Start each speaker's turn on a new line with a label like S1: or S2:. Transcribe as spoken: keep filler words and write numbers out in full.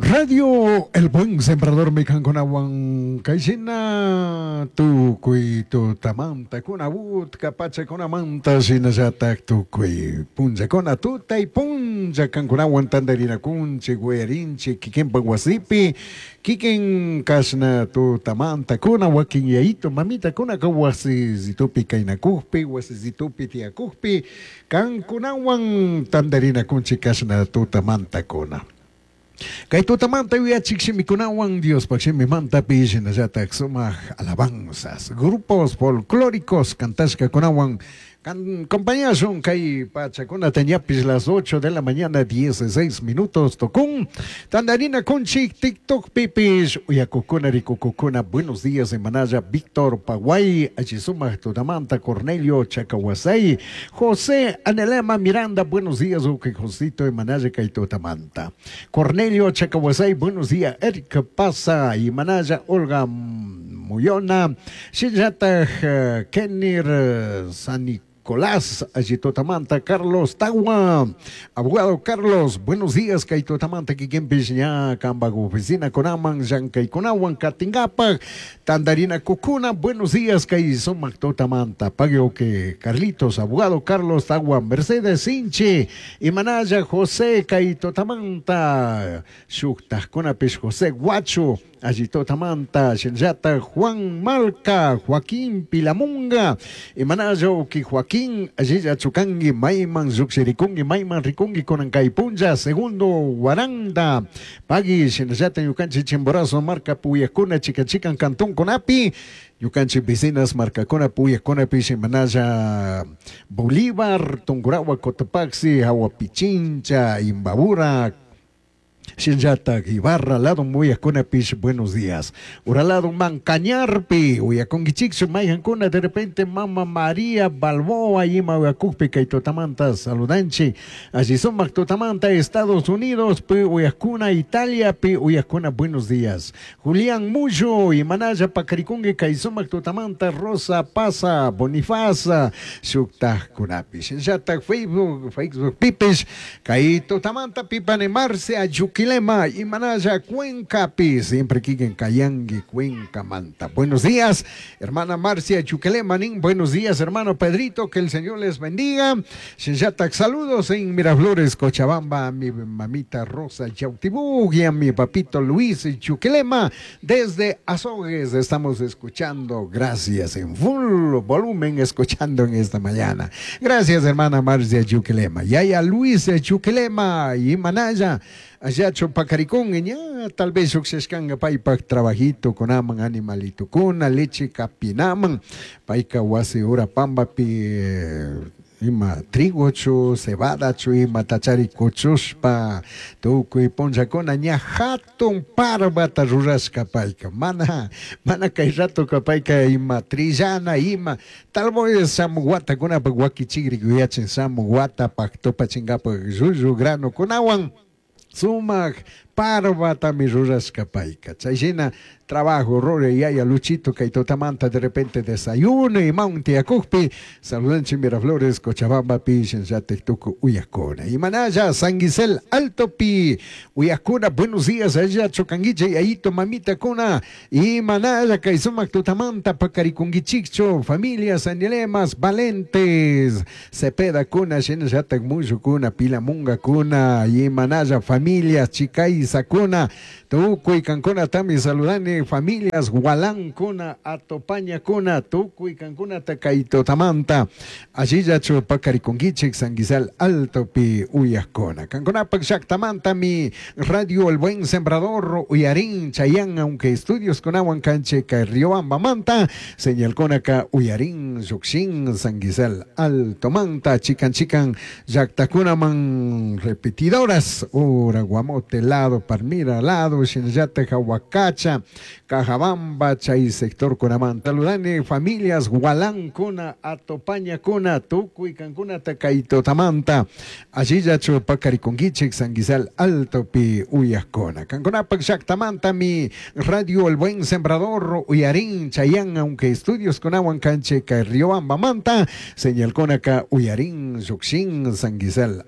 S1: Radio El Buen Sembrador mi kankunawan kayshina tukuy tutamanta kuna utka pachakunamanta shinallatak tukuy punllakuna tutay punlla kankunawan tantarinakunchik uyarinchik kikinpak wasipi kikin kashna tutamanta kuna wakin yayito mamitakuna wasisitupi kaynakukpi wasisitupi tiyakukpi kankunawan tantarinakunchik kashna tutamanta kuna. Kay tutamanta yuyachik shimikunawan Diospaq shimimantapi shinallatak sumaq alabanzas, grupos folclóricos kantashkakunawan kan compañashun kay pachakunata ñapis las ocho de la mañana dieciséis minutos tukun tandarina kunchik TikTok pipish uyakukuna rikukukuna. Buenos días, Emanaya Víctor Paguay, alli sumaq tutamanta. Cornelio Chacahuasay, José Anelema Miranda, buenos días, uke Josito, Emanaya kay tutamanta. Cornelio Chacahuasay, buenos días. Eric Pasa, Imanaya Olga Muyona, shinallatak Kenir San Nicolás, alli tutamanta. Carlos Tawa, abogado Carlos, buenos días, kay tutamanta kikinpish ña kampak oficina kunaman, llankaykunawan katinkapak, tandarina kukuna, buenos días, kay sumak tutamanta, pagui que Carlitos, abogado Carlos Tawa, Mercedes Sinchi, Imanaya José, kay tutamanta, shuktajkunapish José Guacho, alli tutamanta, shinallatak Juan Malca, Joaquín Pilamunga, Imanaya uki Joaquín, allilla chukangi, mayman llukshirikungi, mayman rikungi kunan kay punlla, segundo Guaranda, pagui shinallata ñukanchik Chimborazo marka puyakuna chikan chikan cantón kunapi, ñukanchik vecinas markakuna puyakkunapi Imanaya Bolívar, Tungurahua, Cotopaxi, Hawa Pichincha, Imbabura, shinallatak Ibarra, lado muyakkunapish, buenos días. Uralado Mancañarpi, uyakunkichikchu mayjankuna de repente Mama María Balboa ima uyakukpi kay tutamanta saludanchik. Alli sumak tutamanta Estados Unidos, pi uyakuna Italia, pi uyakuna, buenos días. Julián Muyo, imanalla pakarikunki kay sumak tutamanta. Rosa Pasa, Bonifaza, shuktajkunapish. Shinallatak Facebook, Facebook pipish, kay tutamanta pipane Marcia Yuquilema, Imanaya Cuenca pi, siempre kikin kayangi Cuenca manta. Buenos días, hermana Marcia Chuquilema, nin, buenos días, hermano Pedrito, que el Señor les bendiga. Shinallatak saludos en Miraflores, Cochabamba, a mi mamita Rosa Yautibug y a mi papito Luis Chuquilema. Desde Azogues estamos escuchando, gracias, en full volumen escuchando en esta mañana. Gracias, hermana Marcia Chuquilema. Yaya Luis Chuquilema y Manaya, allá chupacaricón, ña, tal vez llukshishkanga paypak trabajito kunaman animalito kuna, leche kapinaman, payka wasi ura pambapi eh, ima trigochu, cebadachu, ima tachari kuchushpa, tukuy punllakuna ña hatun parbata rurashka payka, mana, mana kay ratoka payka ima trillana, ima, tal vez shamuj watakunapak wakichikrik yuyachin shamuj watapak tupachinkapak llullu grano kunawan, sumak parbatami rurashka payka. Chayshina trabajo ruray yaya Luchito kay tutamanta de repente desayuno imawan tiyakukpi saludanchik Miraflores Cochabambapi shinallatik tukuy uyakuna. Imanaya San Gisel Altopi uyakuna, buenos días, allá chukanguiche yayito mamita kuna imanaya kay sumak tutamanta pakarikunguichikchu familias Anilemas Valentes Cepeda kuna shinallatik Muyu kuna Pilamunga kuna imanaya familias Chicaiza kuna tukuy kankunatami saludani familias Gualancuna Atopaña kuna tukuy kankunata kay tutamanta allillachu pakarikunguichik San Gisal Altopi uyakuna kankunapak llaktamantami Radio El Buen Sembrador uyarin chayan aunque estudios kunawan kanchik kay Riobambamanta señal kunaka uyarin llukshin San Gisal Altomanta chikan chikan llaktakunaman repetidoras ura Guamote lado Palmira lado shinallatak Huacacha Cajabamba chay sector kunamanta saludani familias Gualancuna Atopaña kuna tukuy kankunata kay tutamanta allillachu pakarikunguichik San Gisal Altopi uyakuna kankunapak llaktamantami Radio El Buen Sembrador uyarin chayan aunque estudios kunawan kanchik kay Riobambamanta señal kunaka uyarin llukshin San Gisal